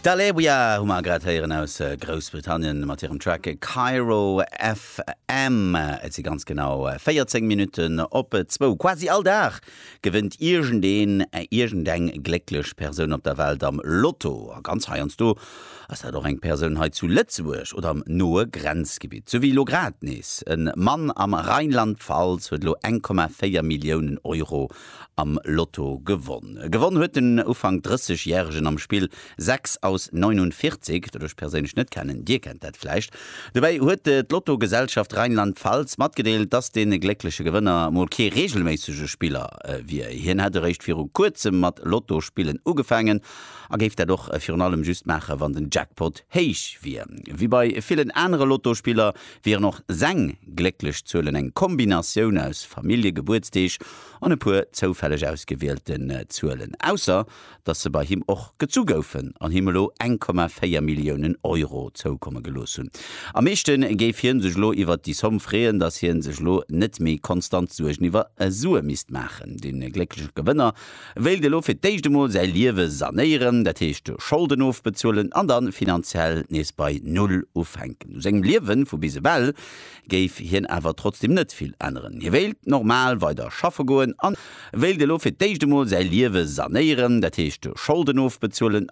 D'Alewya hu mer grad héieren aus Groussbritannien mat hirem Track Cairo FM. Et si ganz genau 14 Minutten op zwou. Quasi all Dag gewënnt iergendeen, iergendeng glécklech Persoun op der Welt am Lotto. A ganz heiansdo ass dat och eng Persoun hei zu Lëtzebuerg oder am noe Grenzgebitt. Sou wéi elo grad nees. E Mann am Rheinland-Pfalz huet elo 1,4 Milliounen Euro am Lotto gewonn. Gewonn huet den Ufank 30 järegen am Spill 6 aus 49, dat ech perséinlech net kennen, dir kennt dat vläicht. Dobäi huet d'Lotto-Gesellschaft Rheinland-Pfalz matgedeelt, dass de gléckleche Gewënner mol kee reegelméissege Spiller wier. Hien hätt eréischt viru kuerzem mat Lotto-Spillen ugefaangen a géif dat och virun allem just maache wann den Jackpot héich wier. Wéi bei villen anere Lotto-Spiller wieren och seng glécklech Zuelen eng Kombinatioun aus Familljegebuertsdeeg an e puer zoufälleg ausgewielten Zuelen, ausser dass se bei him och gezu goufen an him elo 1,4 Milliounen Euro zoukomme gelooss hunn. Am meeschte géif hien sech elo iwwert déi Somm freeën, dass hien sech elo net méi konstant Suergen iwwer Sue misst maachen. De gléckleche Gewënner wéilt elo fir d'éischt emol säi Liewe sanéieren, dat heescht Scholden ofbezuelen an da finanziell nees bei Null ufänken. U sengem Liewe vu bis ewell géif hien awer trotzdeem net vill änneren. Hie wéilt normal weider schaffe goen an wéilt elo fir d'éischt emol säi Liewe sanéieren, dat heescht Scholden ofbezuelen.